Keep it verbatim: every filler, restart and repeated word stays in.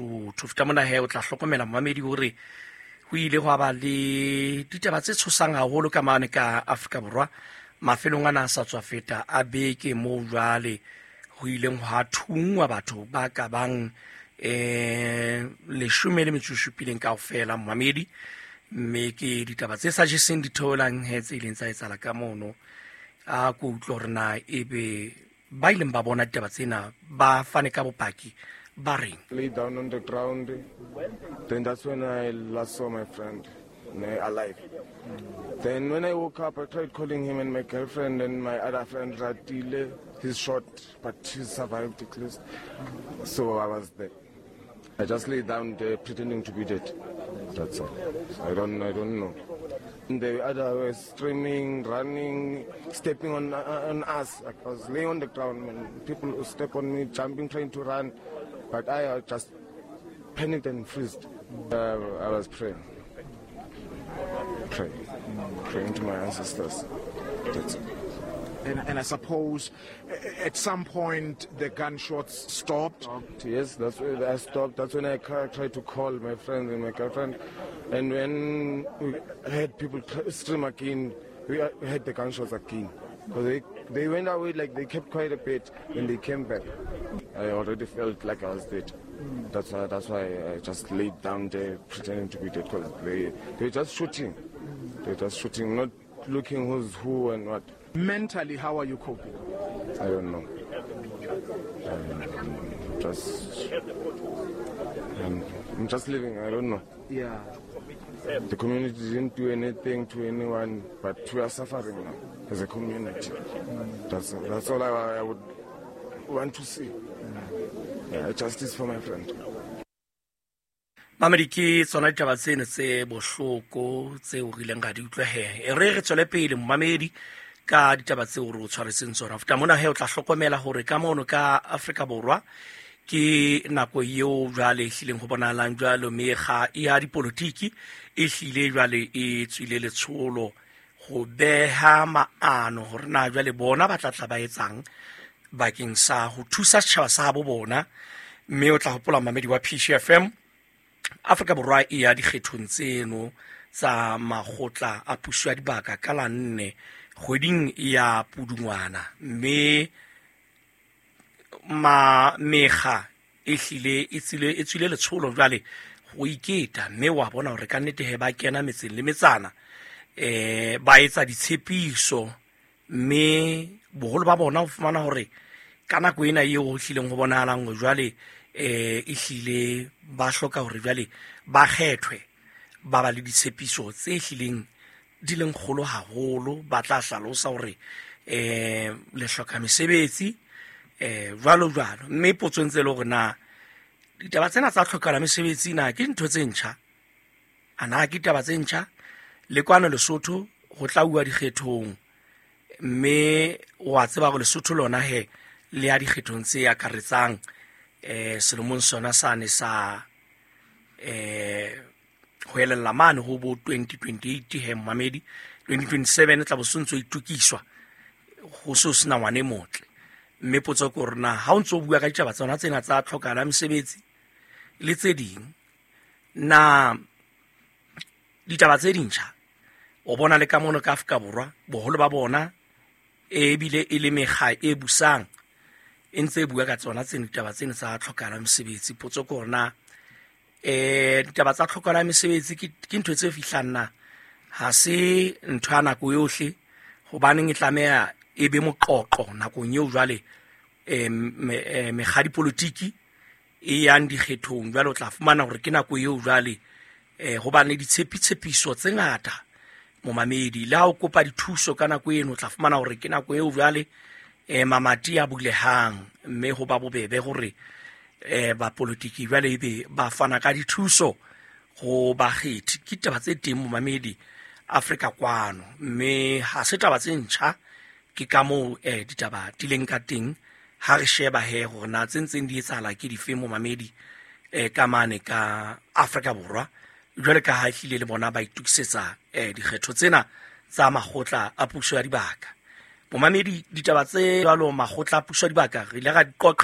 Lesotho. Feta mona he o tla hlokomela momamedi hore ho ile hwa ba le ditaba tse tshosang haholo ka mane ka Afrika Borwa mafelong ana a sa tswa feta a beke moo jwale ho ileng hwa thungwa batho ba ka bang eh leshome le metso e supileng kaofela momamedi, mme ke ditaba tse sa jeseng ditheolang he tse ileng tsa etsahala ka mono. A ko utlwe hore na ebe ba ileng ba bona ditaba tsena ba fane ka bopaki ba reng. Lay down on the ground, then that's when I last saw my friend alive. Then when I woke up, I tried calling him and my girlfriend and my other friend Ratile. He's shot, but he survived at least. So I was there. I just lay down there pretending to be dead. That's all. I don't, I don't know. And the other were screaming, running, stepping on, on us. I was laying on the ground and people would step on me, jumping, trying to run. But I just panicked and freezed. Uh, I was praying. Praying. Praying to my ancestors. That's it. And, and I suppose at some point the gunshots stopped? Stopped, yes, that's when I stopped. That's when I tried to call my friend and my girlfriend. And when we heard people scream again, we heard the gunshots again. Because they, they went away, like they kept quite a bit when they came back. I already felt like I was dead. That's why, that's why I just laid down there pretending to be dead, because they, they were just shooting. They were just shooting, not looking who's who and what. Mentally, how are you coping? I don't know. I'm just, I'm, I'm just living. I don't know. Yeah. The community didn't do anything to anyone, but we are suffering now as a community. That's, that's all I, I would want to see. Yeah, justice for my friend. Mamedi, ke tsona ditaba tseno tse bohloko tseo re ileng ra di utlwa he. E re re tswele pele momamedi ka ditaba tseo re o tshwaretseng tsona. Feta mona he o tla hlokomela hore ka mono ka Afrika Borwa ke nako eo jwale e hlileng ho bonahalang jwalo mekga ya dipolotiki e hlile jwale e tswile letsholo ho beha maano hore na jwale bona ba tla tla ba etsang bakeng sa ho thusa setjhaba sa bo bona. Mme o tla hopola mamedi wa P C F M, Afrika Borwa e ya dikgethong tseno tsa makgotla a puso ya dibaka ka la nne kgweding ya Pudungwana, mme ma mekga e hlile e tswile e tswile letsholo jwale ho iketa, mme wa bona hore ka nnete he ba kena metseng le metsana eh ba etsa ditshepiso, mme boholo ba bona ho fumana hore ka nako ena eo ho hlileng ho bonahalang hore jwale eh e hlile ba hloka hore jwale ba kgethwe ba ba le ditshepiso tse hlileng di leng kgolo haholo, ba tla hlalosa hore eh le hloka mesebetsi eh jwalo jwalo. Mme potso ntse le hore na ditaba tsena tsa tlhokala mesebetsi na ke ntho tse ntjha, ana ke ditaba tse ntjha? Le kwano Lesotho ho tla uwa dikgethong, mme wa tseba hore Lesotho lona he le ya dikgethong tse akaretsang eh selemong sona sane sa eh ho elella mane ho bo twenty twenty-eight he mamedi twenty twenty-seven tla bo sontso itukiswa ho so sena ngwane motle. Mme potso ke hore na ha o ntso bua ka ditaba tsona tsena tsa tlhokala mesebetsi le tse ding, na ditaba tse dintjha o bona le ka mono ka Afrika Borwa boholo ba bona ebile e le mekga e busang e ntse e bua ka tsona tsena ditaba tsena tsa tlhokala mesebetsi. Potso ke hore na eh ditaba tsa tlhokala mesebetsi ke ke ntho tse fihlang na ha se ntho ya nako yohle, hobaneng e tlameha e be moqoqo nakong eo jwale eh mekga dipolotiki e yang dikgethong jwale o tla fumana hore ke nako eo jwale eh hobane ditshepitshepiso tse ngata momamedi le ha o kopa dithuso ka nako eno o tla fumana hore ke nako eo jwale eh mamati a bulehang, mme ho ba bobebe hore eh ba politiki jwale ebe ba fana ka dithuso ho bakgethi. Ke taba tse teng momamedi Afrika kwano, mme ha se taba tse ntjha, ke ka moo eh ditaba di leng ka teng. Ha re sheba he hore na tse ntseng di etsahala ke dife momamedi eh ka mane ka Afrika Borwa jwale ka ha ehlile le bona ba itukisetsa eh dikgetho tsena tsa makgotla a puso ya dibaka. Momamedi ditaba tse jwalo makgotla a puso ya dibaka re ile ra di qoqa